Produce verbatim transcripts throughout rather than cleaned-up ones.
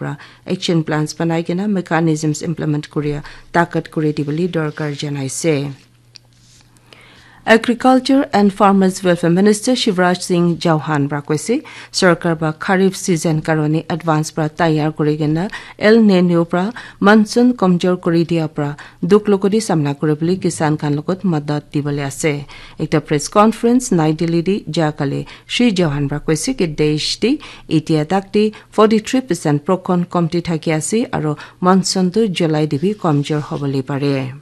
pra action plans banai kena mechanisms implement kuria takat kuri dibole dorkar janaise. Agriculture and Farmers Welfare Minister Shivraj Singh Chauhan pra koise, sarkar pra kharif season karone advance pra tayar kuri kena El Nino pra monsoon komjor kuri dia pra dukh logodi samna kuribole kisan khan logot madat dibole ase. Ekta press conference Nai Delhi di jakale Shri Chauhan pra koise ki desh di itia tak di forty-three percent prokon komti thaki ase aro monsoon tu July di bi komjor hobole pare.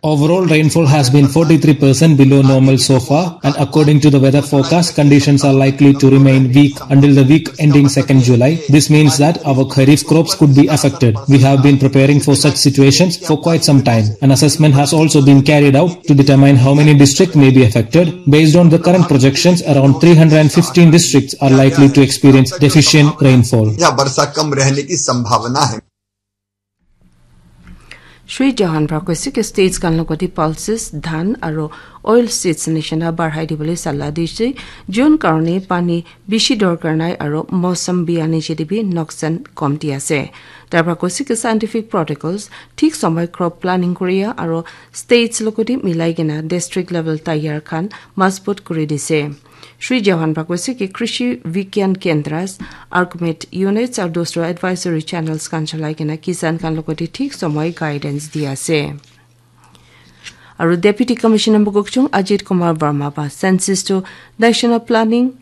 Overall, rainfall has been forty-three percent below normal so far, and according to the weather forecast, conditions are likely to remain weak until the week ending second July. This means that our kharif crops could be affected. We have been preparing for such situations for quite some time. An assessment has also been carried out to determine how many districts may be affected. Based on the current projections, around three hundred fifteen districts are likely to experience deficient rainfall. यहाँ वर्षा कम रहने की संभावना है। Shri Chauhan pra koise ki states khan logoti pulses, dhan aro oil seeds nishina barhai dibole sala dise, jun karone pani bishi dorkar nai aro mosam biya niche de bi noksan komti ase. Tar pra koise ki scientific protocols thik somoi crop planning kuria aro states logoti milai kena district level tayar khan masbut kuri dise. Shri Chauhan pra koise ki Krishi Vigyan Kendras, Arcmet Units aru dusra advisory channels khan cholai kena kisan khan logoti thik somoi guidance di ase. Aru Deputy Commissioner Mokokchung Ajit Kumar Verma ba census to national planning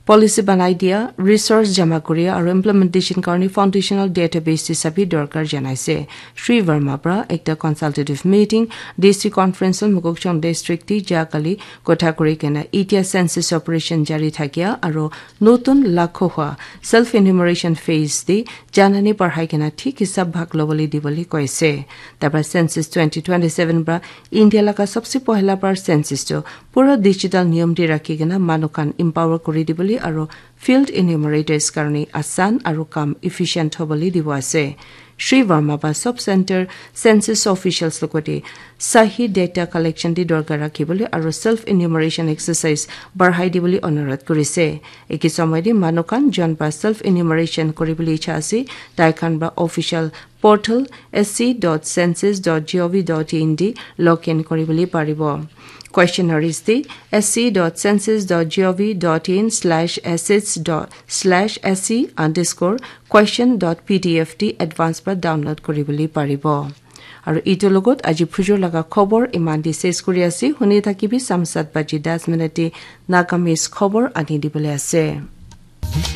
policy banai dia, resource jama kuria aru implementation karni foundational database hisabi dorkar janaise. Shri Verma pra ekta consultative meeting D C conference Mokokchung district ti jakali kotha kuri kena itia census operation jari thakia aru notun lakho hua self enumeration phase di janani parhai kena thik hisab bhag lobole dibole koise. Tabra census twenty twenty-seven pra India laga sabse pohla par census tu pura digital niyom di rakhi kena manu khan empower kuri dibole aru field enumerators karni asan aru kam efficient hobole dibo ase. Shri Verma ba sub center census officials logoti sahi data collection di dorkar rakhi bole aru self enumeration exercise barhai dibole onurodh kurise. Eki somoi di manu khan jon ba self enumeration kuri bole icha ase, tai khan ba official portal S C dot census dot gov dot in di login kuri bole paribo. Questionnaires di S C dot census dot gov dot in slash assets dot slash S C underscore question dot P D F di advance pra download kuri bole paribo. Aru itu logot aji phujur laga khobor iman di ses kuri ase. Huni thakibi sam sat baji das minute di Nagamese khobor ani dibole ase.